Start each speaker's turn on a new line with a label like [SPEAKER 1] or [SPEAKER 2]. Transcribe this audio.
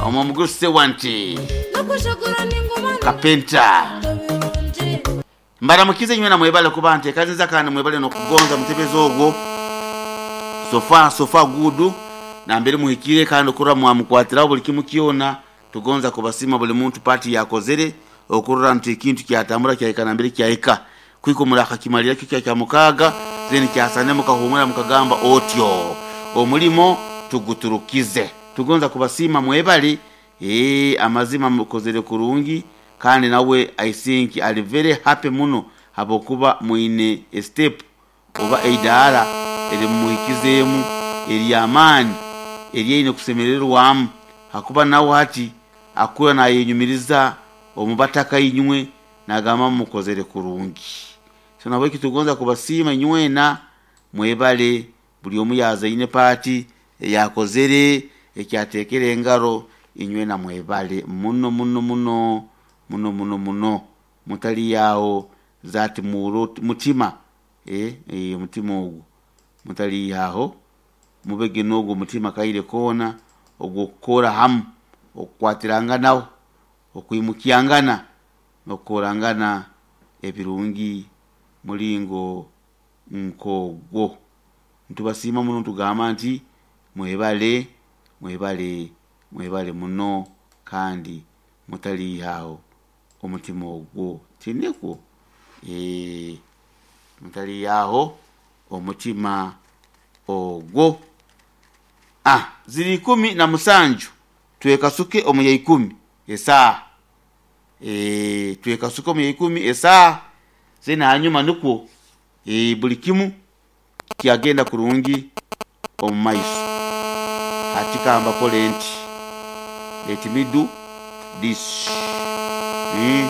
[SPEAKER 1] Omwo omugurusi Sewante Kapenta. Mbaramukize inywena mwebale kuba ntekanyiza kandi mwebale n'okugonza mutebezi ogwo. So far so far good nambere muhikire kandi okurora mwamukwatiraho buli kimu kyona. Tugonza kubasiima buli muntu part yakozere okurora nti ekintu kyatambura kyahika nambere kyahika. Kwika omurakakimalira kyo kya kyamukaaga then kyasane mukahumura mukagamba otyo omulimo tuguturukize. Tugonza kubasiima mwebale eeh amazima mukozere kurungi kandi nawe I think ali very happy muno habwokuba mwine e step oba eidaara erimumuhikizeemu ery'amaani eryaine kusemererwamu hakuba nawe hati akura nayenyumiriza omu bataka inywe nagamba mukozere kurungi. So nahabweki tugonza kubasiima inywena mwebale buli omu yazaine paati eyakozere ekyatekere engaro inywena mwebale muno muno muno muno muno muno mutaliyaho that mutima eh omutima ogwo mutaliihaho mubege n'ogwo omutima kaire koona ogw'okukora hamu, okukwatiranganaho, okwimukyangana n'okukorangana ebirungi muringo nk'ogwo. Nitubasiima muno nitugamba nti mwebale, mwebale, mwebale muno kandi mutaliihaho omutima ogwo. Tinikwo? Eeh, mutaliihaho omutima ogwo. Ah, ziri ikumi na musanju twekasuke omu ya ikumi esaaha. Eeh, twekasuke omu ya ikumi esaaha, then hanyuma nikwo eeh buli kimu kyagenda kurungi omu maiso. Hati ka mbakole nti, let me do this.